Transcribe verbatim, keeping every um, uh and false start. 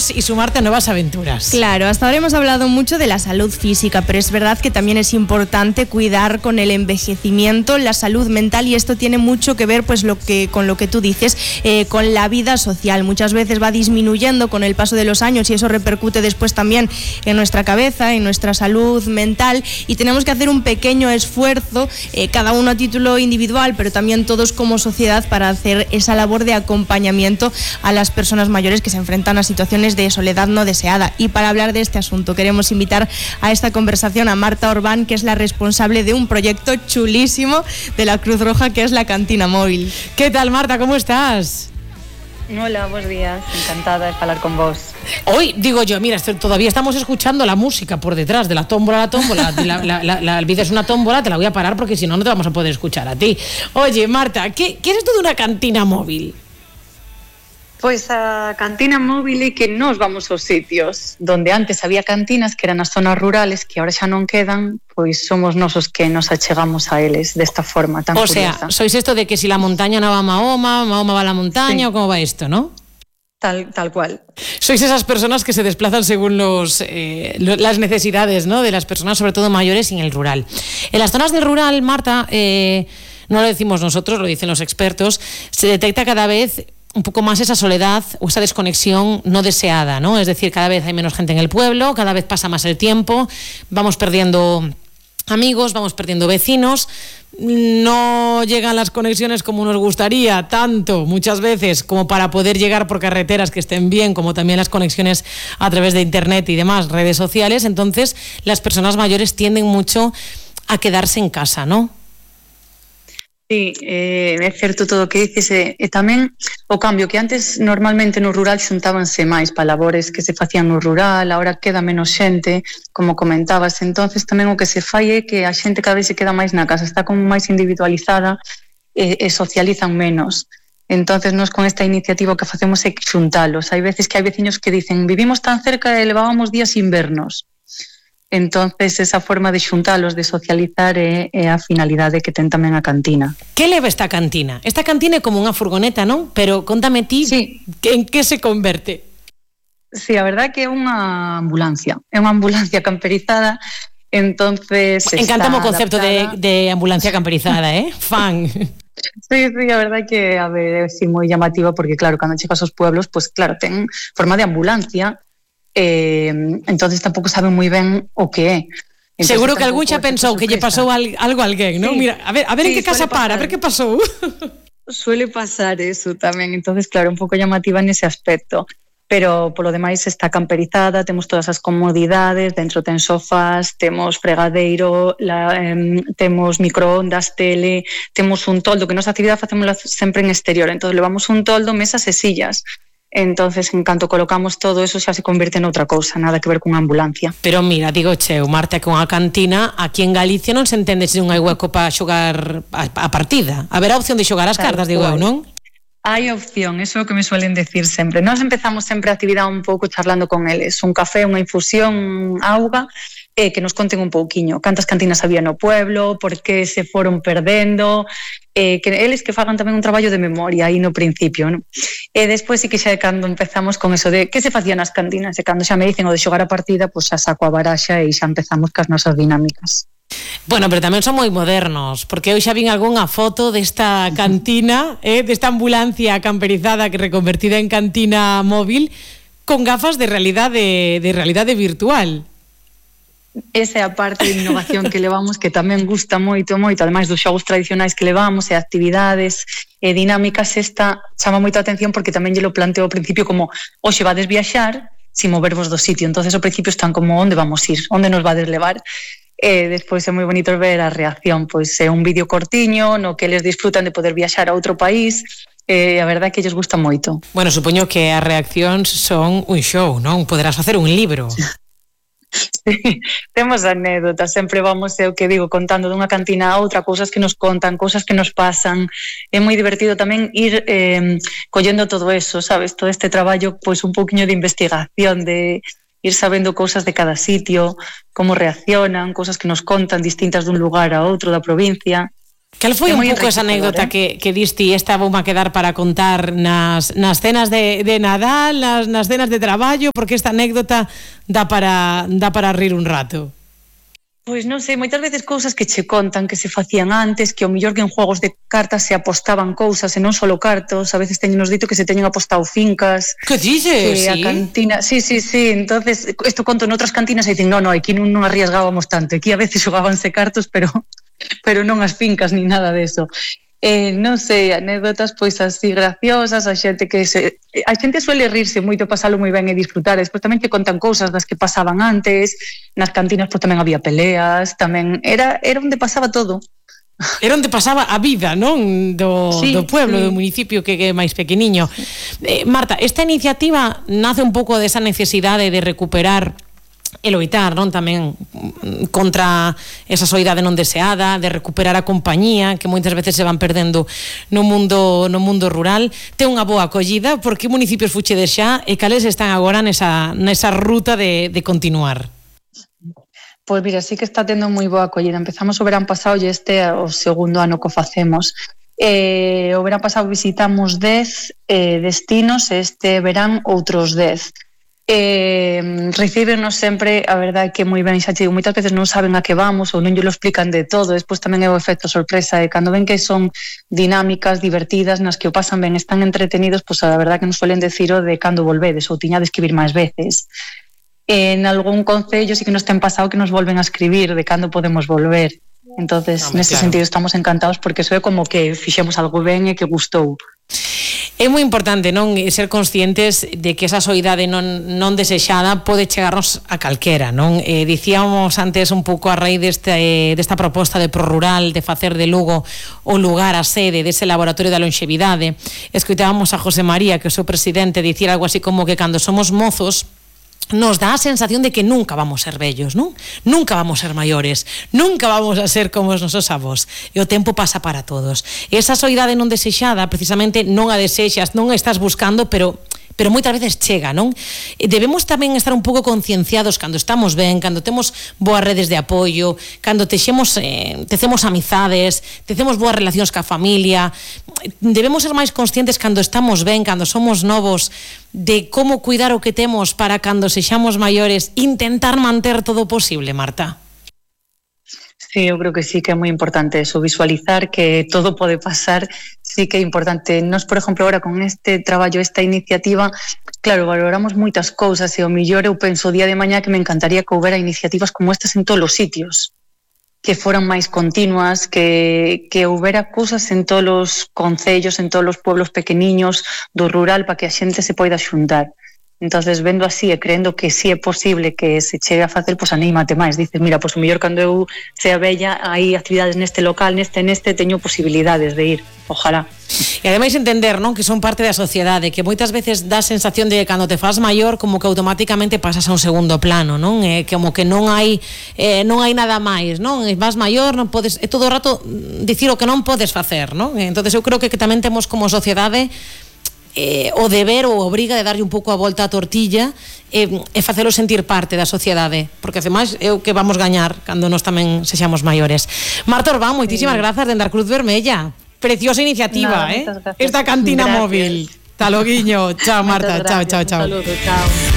amigos y sumarte a nuevas aventuras. Claro, hasta ahora hemos hablado mucho de la salud física, pero es verdad que también es importante cuidar con el envejecimiento la salud mental, y esto tiene mucho que ver pues lo que con lo que tú dices, eh, con la vida social. Muchas veces va disminuyendo con el paso de los años y eso repercute después también en nuestra cabeza, en nuestra salud mental, y tenemos que hacer un pequeño esfuerzo, eh, cada uno a título individual, pero también todos como sociedad, para hacer esa labor de acompañamiento a las personas mayores que se enfrentan a situaciones de soledad no deseada. Y para hablar de este asunto queremos invitar a esta conversación a Marta Orbán, que es la responsable de un proyecto chulísimo de la Cruz Roja, que es la Cantina Móvil. ¿Qué tal, Marta? ¿Cómo estás? Hola, buenos días, encantada de hablar con vos. Hoy, digo yo, mira, esto, todavía estamos escuchando la música por detrás de la tómbola, la tómbola, la, la, la, la, la, es una tómbola, te la voy a parar porque si no, no te vamos a poder escuchar a ti. Oye, Marta, ¿qué, qué es esto de una cantina móvil? Pois a cantina móvil é que nos vamos aos sitios donde antes había cantinas que eran nas zonas rurales, que ahora xa non quedan, pois somos nosos que nos achegamos a eles desta forma tan o curiosa. O sea, sois esto de que si la montaña no va a Mahoma, Mahoma va a la montaña, sí. ¿O cómo va esto, no? Tal, tal cual. Sois esas personas que se desplazan según los, eh, las necesidades, ¿no?, de las personas, sobre todo mayores, y en el rural. En las zonas del rural, Marta, eh, no lo decimos nosotros, lo dicen los expertos, se detecta cada vez un poco más esa soledad o esa desconexión no deseada, ¿no? Es decir, cada vez hay menos gente en el pueblo, cada vez pasa más el tiempo, vamos perdiendo amigos, vamos perdiendo vecinos, no llegan las conexiones como nos gustaría, tanto muchas veces como para poder llegar por carreteras que estén bien, como también las conexiones a través de internet y demás, redes sociales. Entonces las personas mayores tienden mucho a quedarse en casa, ¿no? Sí, eh, é certo todo o que dices, e, e tamén o cambio que antes normalmente no rural xuntábanse máis para labores que se facían no rural, agora queda menos xente, como comentabas, entonces tamén o que se fai é que a xente cada vez se queda máis na casa, está como máis individualizada e, e socializan menos. Entonces nós con esta iniciativa o que facemos é xuntalos. Hai veces que hai veciños que dicen vivimos tan cerca e levábamos días sin vernos. Entonces esa forma de xuntalos, de socializar é, é a finalidade que ten tamén a cantina. Que leva esta cantina? Esta cantina é como unha furgoneta, non? Pero contame ti, sí. En que se converte? Sí, a verdade que é unha ambulancia, é unha ambulancia camperizada, entonces... Encantame o concepto de, de ambulancia camperizada, eh? Fan. Sí, sí, a verdade que a ver, é sí, moi llamativa, porque claro, cando chegas aos pueblos, pues claro, ten forma de ambulancia, Eh, entonces tampouco saben moi ben o que é. Entonces, seguro que algún xa pensou que lle pasou al, algo a alguén, ¿no? Sí. Mira, a ver, a ver sí, en que casa para, a ver que pasou. Suele pasar eso tamén, entonces claro, un pouco llamativa nese aspecto, pero polo demais está camperizada, temos todas as comodidades, dentro ten sofás, temos fregadeiro, la, eh, temos microondas, tele, temos un toldo, que nosa actividade facémola sempre en exterior, entonces levamos un toldo, mesas e sillas. Entonces, en canto colocamos todo eso, xa se convierte en outra cousa, nada que ver cunha ambulancia. Pero mira, digo cheu, Marta, que unha cantina aquí en Galicia non se entende se non hai hueco para xogar a, a partida. Haberá opción de xogar as cartas, digo eu, non? Hai opción, eso é o que me suelen decir sempre. Nós empezamos sempre a actividade un pouco charlando con eles, un café, unha infusión, auga, eh, que nos conten un pouquiño cantas cantinas había no pueblo, por que se foron perdendo, eh, que eles que fagan tamén un traballo de memoria aí no principio, non? E despois sí que xa é cando empezamos con eso de que se facían nas cantinas, e cando xa me dicen o de xogar a partida, pois xa saco a baraxa e xa empezamos cas nosas dinámicas. Bueno, pero tamén son moi modernos, porque eu xa vin algunha foto desta cantina, eh, desta ambulancia camperizada que reconvertida en cantina móvil, con gafas de realidade, de realidade virtual. Esa é a parte de innovación que levamos, que tamén gusta moito, moito, ademais dos xogos tradicionais que levamos e actividades e dinámicas, esta chama moito a atención porque tamén lle lo planteo ao principio como hoxe vades viaxar sin movervos do sitio, entonces ao principio están como onde vamos ir, onde nos vades levar, e despois é moi bonito ver a reacción, pois é un vídeo cortiño no que eles disfrutan de poder viaxar a outro país, e a verdade é que lles gusta moito. Bueno, supoño que as reaccións son un show, non? Poderás facer un libro. Sí, temos anécdotas, sempre vamos, é o que digo, contando dunha cantina a outra, cousas que nos contan, cousas que nos pasan. É moi divertido tamén ir eh, collendo todo eso, sabes, todo este traballo, pois un pouquiño de investigación, de ir sabendo cousas de cada sitio, como reaccionan, cousas que nos contan distintas dun lugar a outro da provincia. Cal foi un pouco esa anécdota eh? que, que diste esta vou a quedar para contar nas, nas cenas de, de Nadal, nas, nas cenas de traballo, porque esta anécdota dá para, dá para rir un rato? Pois non sei, moitas veces cousas que che contan que se facían antes, que ao mellor que en juegos de cartas se apostaban cousas e non solo cartos, a veces teñenos dito que se teñen apostado fincas. Que dices? Que a sí? cantina, sí, sí, sí, entonces isto conto en outras cantinas e dicen, no, no, aquí non, non arriesgábamos tanto, aquí a veces xogábanse cartos, pero pero non as fincas ni nada deso. Eh, non sei, anécdotas pois así graciosas, a xente que se a xente suele rirse moito, pasalo moi ben e disfrutar, despois tamén te contan cousas das que pasaban antes, nas cantinas pois tamén había peleas, tamén era era onde pasaba todo. Era onde pasaba a vida, non? Do, sí, do pueblo, sí. do municipio que é máis pequeniño. Eh, Marta, esta iniciativa nace un pouco desa necesidade de recuperar e loitar, non, tamén contra esa soidade non deseada, de recuperar a compañía que moitas veces se van perdendo no mundo no mundo rural. Ten unha boa acollida, por que municipios fuchedes xa e cales están agora nesa, nesa ruta de, de continuar? Pois mira, sí que está tendo moi boa acollida. Empezamos o verán pasado e este é o segundo ano que o facemos. Eh, o verán pasado visitamos dez eh, destinos e este verán outros dez. Eh, recíbenos sempre, a verdade que moi ben, xa te digo, moitas veces non saben a que vamos ou non lle lo explican de todo, despois tamén é o efecto sorpresa e cando ven que son dinámicas, divertidas, nas que o pasan ben, están entretenidos, pois a verdade que nos suelen decir o de cando volvedes ou tiñades que vir máis veces. En algún concello sí que nos ten pasado que nos volven a escribir de cando podemos volver, entonces no, nese claro. sentido estamos encantados porque eso é como que fixemos algo ben e que gustou. É moi importante, non, ser conscientes de que esa soidade non, non desexada pode chegarnos a calquera, non? Eh, dicíamos antes un pouco a raíz deste, eh, desta proposta de ProRural de facer de Lugo o lugar, a sede dese laboratorio da longevidade. Escoitábamos a José María, que é o seu presidente, dicir algo así como que cando somos mozos nos dá a sensación de que nunca vamos ser vellos, non? Nunca vamos ser maiores, nunca vamos a ser como os nosos avós. E o tempo pasa para todos. E esa soidade non desexada, precisamente non a desexas, non a estás buscando, pero pero moitas veces chega, non? Debemos tamén estar un pouco concienciados cando estamos ben, cando temos boas redes de apoio, cando texemos, eh, tecemos amizades, tecemos boas relacións ca familia. Debemos ser máis conscientes cando estamos ben, cando somos novos, de como cuidar o que temos para cando sexamos maiores, intentar manter todo posible, Marta. Sí, eu creo que sí que é moi importante eso, visualizar que todo pode pasar, sí que é importante. Nos, por exemplo, agora con este traballo, esta iniciativa, claro, valoramos moitas cousas e o millor eu penso o día de mañá que me encantaría que houbera iniciativas como estas en todos os sitios, que foran máis continuas, que, que houbera cousas en todos os concellos, en todos os pueblos pequeniños do rural para que a xente se poida xuntar. Entonces, vendo así e creendo que si sí é posible que se chegue a facer, pois anímate máis. Dices, mira, pois o mellor cando eu sea bella, hai actividades neste local, neste, neste, teño posibilidades de ir. Ojalá. E ademais entender, non, que son parte da sociedade, que moitas veces dá a sensación de que cando te faz maior como que automáticamente pasas a un segundo plano, non? É como que non hai eh, non hai nada máis, non? Vas maior, non podes, é todo o rato dicir o que non podes facer, non? Entonces eu creo que, que tamén temos como sociedade Eh, o deber ou obriga de darlle un pouco a volta á tortilla e, e facelo sentir parte da sociedade, porque ademais é o que vamos gañar cando nós tamén sexamos maiores. Marta Orbán, moitísimas sí. grazas dende a Cruz Vermella. Preciosa iniciativa, no, eh? Esta cantina gracias. Móvil. Ta loguiño. Chao, Marta. Chao, chao, chao. Un saludo, chao.